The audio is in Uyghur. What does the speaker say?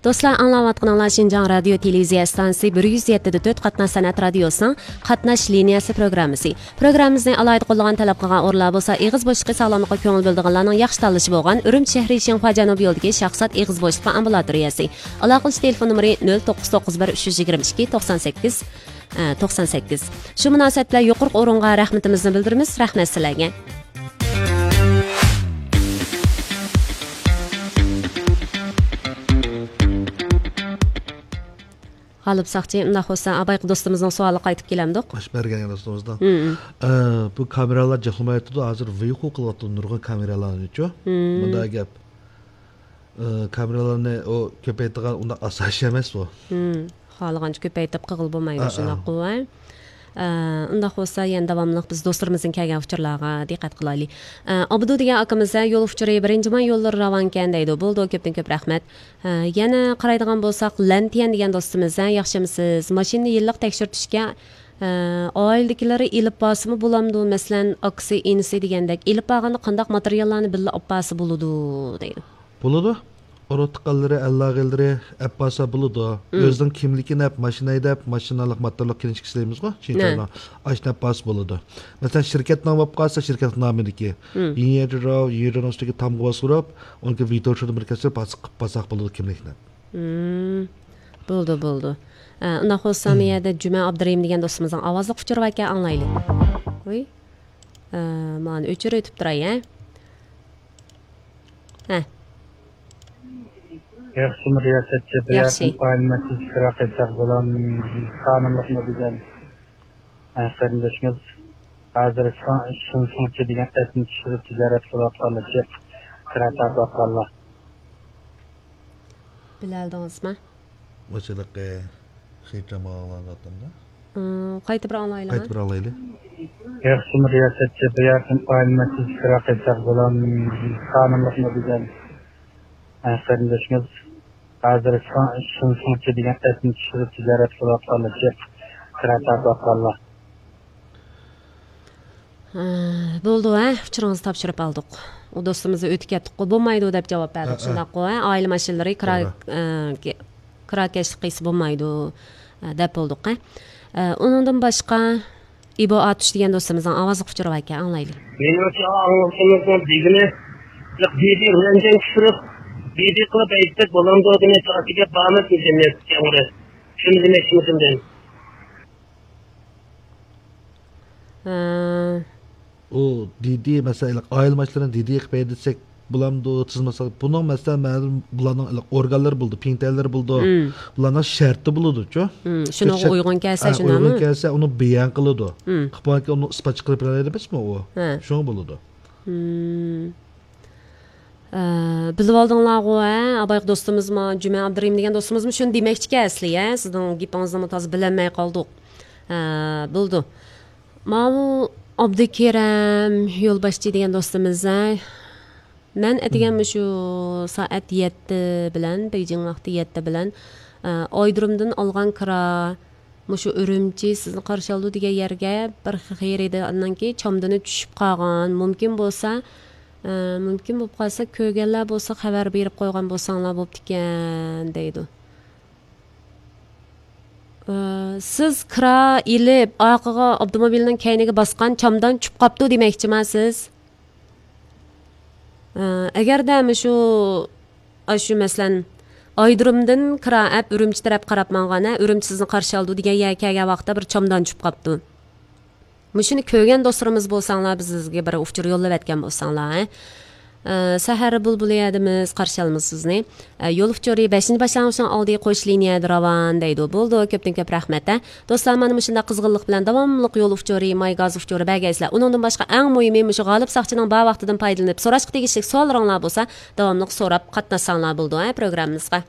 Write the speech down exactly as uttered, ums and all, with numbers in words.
دوستلار، ئاڭلاۋاتقىنىڭلار شىنجاڭ رادىيو تېلېۋىزىيە ئىستانسىسى بىر يۈز يەتتە دە تۆت قاتناش سەنئەت رادىيوسىنىڭ قاتناش لىنىيەسى پروگراممىسى. پروگراممىمىزنى ئالاھىدە قوللىغان، تەلەپ قىلغان ئورۇنلار بولسا ئېغىز بوشلۇقى ساغلاملىققا كۆڭۈل بۆلىدىغانلارنىڭ ياخشى تاللىشى بولغان ئۈرۈمچى شەھىرى شىنخۇا جەنۇبىي يولىدىكى شاخسات ئېغىز بوشلۇقى ئامبۇلاتورىيەسى. ئالاقىلىشىش تېلېفون نومۇرى نۆل توققۇز توققۇز بىر ئۈچ يۈز يىگىرمە ئىككى توقسان سەككىز، ئە، توقسان سەككىز. شۇ مۇناسىۋەت بىلەن يۇقىرىقى ئورۇنغا رەھمىتىمىزنى بىلدۈرىمىز. رەھمەت سىلەرگە. غالىپ ساقچى، ئۇنداق بولسا، ئابايقى دوستىمىزنىڭ سوئالىغا قايتىپ كېلەمدۇق؟ باش بەرگەن دوستىمىزنىڭ. مم. ئە، بۇ كامېرالار جىقلىمايۋاتىدۇ، ھازىر ۋىيخۇ قىلىۋاتىدۇ نۇرغۇن كامېرالارنىچۇ. مم. مۇنداق گەپ. ئە، كامېرالارنى ئۇ كۆپەيتىدىغان ئۇنداق ئاساس ئەمەس بۇ. مم. خالىغانچە كۆپەيتىپ قىلغىلى بولمايدۇ، ئا، ئا. شۇنداققۇ، ھە؟ ئە، ئۇنداق بولسا، يەنە داۋاملىق بىز دوستلىرىمىزدىن كەلگەن ئۇچۇرلارغا دىققەت قىلايلى. ئە، ئابدۇ دېگەن ئاكىمىز، ھە، يول ئۇچۇرى بىرىنچى ماي يوللىرى راۋانكەن دەيدۇ. بولىدۇ، كۆپتىن كۆپ رەھمەت. ھە، يەنە قارايدىغان بولساق، لەنتيەن دېگەن دوستىمىز، ھە، ياخشىمۇسىز؟ ماشىنىنى يىللىق تەكشۈرتۈشكە، ھە، ئائىلىدىكىلىرى ئېلىپ بارسىمۇ بولامدۇ؟ مەسىلەن، ئاكىسى، ئىنىسى دېگەندەك، ئېلىپ بارغاندا قانداق ماتېرىياللارنى بىللە ئاپ بارسا بولىدۇ؟ دەيدۇ. بولىدۇ. ئۇرۇق تۇغقانلىرى، ئەللاغىلىرى ئەپ بارسا بولىدۇ. مم. ئۆزىنىڭ كىملىكىنى ئەپ، ماشىنا ھەيدەپ، ماشىنىلىق ماتورلۇق كىنىشكا ئىشلەيمىزغۇ، نە. چىنچاينىڭ. ئاشۇنى ئەپ بارسا بولىدۇ. مەسىلەن، شىركەت نامى بولۇپ قالسا، شىركەت نامىدىكى. مم. يىڭيەجىراۋ، يىڭيەجىراۋنىڭ ئۈستىدىكى تامغا باستۇرۇپ، ئۇنىڭكى ۋىتو شۇدا بىر كەسىپ باسىپ، باساق بولىدۇ كىملىكنى. مم. بولىدۇ، بولىدۇ. ئە، ئۇنداق بولسا، مم. بۇ يەردە جۈمە ئابدۇرېھىم دېگەن دوستىمىزنىڭ ئاۋازلىق ئۇچۇرى باركەن، ئاڭلايلى. ۋۇي. ئە، مانا ئۆچۈرۈۋېتىپ تۇراي، ھە؟ ھە. ياخشىمۇ رىياسەتچى؟ بۇ ياخشى. يەردىن ئائىلە مەسىلىسى كىرا قىلساق بولام، قانۇنلۇقمۇ دېگەن قېرىندىشىمىز ھازىر شۇ-، شۇنسۇڭچى دېگەن ئەپنى چۈشۈرۈپ تىجارەت قىلىۋاتقانلار، جىق كىرا تارتىۋاتقانلار. بىلەلدىڭىزمۇ؟ مۇشۇلىقى خېرىدارمۇ ئاڭلانىۋاتامدا؟ ئىم، قايتا بىر ئاڭلايلىما؟ قايتا بىر ئاڭلايلى. ياخشىمۇ رىياسەتچى، بۇ يەردىن ئائىلە مەسىلىسى كىرا قىلساق بولام، قانۇنلۇقمۇ دېگەن قېرىندىشىمىز ھازىر شۇ-، شۇنسۇڭچى دېگەن ئەپنى چۈشۈرۈپ تىجارەت قىلىۋاتقانلار، جىق كىرا تارتىۋاتقانلار. ھە، بولدى، ھە، ئۇچۇرىڭىزنى تاپشۇرۇپ ئالدۇق. ئۇ دوستىمىز ئۆتۈپ كەتتۇق، بولمايدۇ دەپ جاۋاب بەردۇق، ھە، ھە. شۇنداققۇ، ھە؟ ئائىلە ماشىنىلىرى كىرا، توغرا. ئە، كە-، كىراكەشلىك قىلسا بولمايدۇ، ئە، دەپ بولدۇق، ھە؟ ئە، ئۇنىڭدىن باشقا ئىبو ئاتۇش دېگەن دوستىمىزنىڭ ئاۋازلىق ئۇچۇرى باركەن، ئاڭلايلى. مېنىڭچە، ئاڭلىغىنىم دېگىنى، دىدى بىلەن جەڭ چۈشۈرۈپ، دىدى قىلىپ ئەيتسەك بولامدۇ دېمەكچى، ئاشۇ گەپ بارمىدى جەمئىيەت جەڭگىدە. شۇنى دېمەكچىمىدىم. ھە. ئۇ دىدى، مەسىلەن، ئائىلە ماشىنىلىرىنى دىدى قىلىپ ھەيدىسەك بولامدۇ، تىزماسا، بۇنىڭ، مەسىلەن، مەلۇم بۇلارنىڭ ئورگانلىرى بولىدۇ، پىڭتەنلىرى بولىدۇ. مم. بۇلارنىڭ شەرتى ببولىدۇچۇ. مم، شۇنىڭغا شەرت-، ئۇيغۇن كەلسە، ھە، شۇنداقمۇ؟ ئۇيغۇن كەلسە، ئۇنى بەيان قىلىدۇ. مم. قىلىپ بولغاندىكىن ئۇنى ئىسپاتچى قىلىپ بېرەلەيدۇ ئەمەسمۇ ئۇ؟ ھە. شۇڭا بولىدۇ. مم. ئە، بىلىۋالدىڭلارغۇ، ھە؟ ئابايقى دوستىمىزمۇ، جۈمە ئابدۇرېھىم دېگەن دوستىمىزمۇ شۇنى دېمەكچىكەن ئەسلى، ھە؟ سىزنىڭ گېپىڭىزنىمۇ تازا بىلەلمەي قالدۇق. ھە، بولدى. ماۋۇ ئابدۇكېرەم يولباشچى دېگەن دوستىمىز، ھە؟ مەن ئەتىگەن مم. مۇشۇ سائەت يەتتە بىلەن، بېيجىڭ ۋاقتى يەتتە بىلەن، ئە، ئايرودرومدىن ئالغان كىرا، مۇشۇ ئۈرۈمچى سىزنى قارشى ئالىدۇ دېگەن يەرگە بىر خېرىدارنىڭكى چامدىنى چۈشۈپ قالغان. مۇمكىن بولسا، ئە، مۇمكىن بولۇپ قالسا، كۆرگەنلەر بولسا خەۋەر بېرىپ قويغان بولساڭلار بوپتىكەن، دەيدۇ. ئە، سىز كىرا ئېلىپ، ئارقىغا ئاپتوموبىلنىڭ كەينىگە باسقان چامدان چۈشۈپ قاپتۇ دېمەكچىما سىز؟ ئە، ئەگەردە مۇشۇ، ئاشۇ مەسىلەن، ئايرودرومدىن كىرا ئەپ ئۈرۈمچى تەرەپ قاراپ ماڭغان، ھە، ئۈرۈمچى سىزنى قارشى ئالىدۇ دېگەن يەرگە كەلگەن ۋاقىتتا بىر چامدان چۈشۈپ قاپتۇ. مۇشۇنى كۆرگەن دوستلىرىمىز بولساڭلار، بىزگە بىر ئۇچۇر يوللىۋەتكەن بولساڭلار، ھە. ئە، سەھەر بۇلبۇلى يەردىمىز، قارشى ئالىمىز سىزنى. ئە، يول ئۇچۇرى بەشىنچى باشلانغۇچنىڭ ئالدى قوش لىنىيەدە راۋان دەيدۇ. بولىدۇ، كۆپتىن كۆپ رەھمەت، ھە. دوستلار، مانا مۇشۇنداق قىزغىنلىق بىلەن داۋاملىق يول ئۇچۇرى، ماي گاز ئۇچۇرى بەرگەيسىلەر. ئۇنىڭدىن باشقا، ئەڭ مۇھىمى، مۇشۇ غالىپ ساقچىنىڭ بار ۋاقتىدىن پايدىلىنىپ سوراشقا تېگىشلىك سوئاللىرىڭلار بولسا، داۋاملىق سوراپ قاتناشساڭلار بولىدۇ، ھە، پروگراممىمىزغا.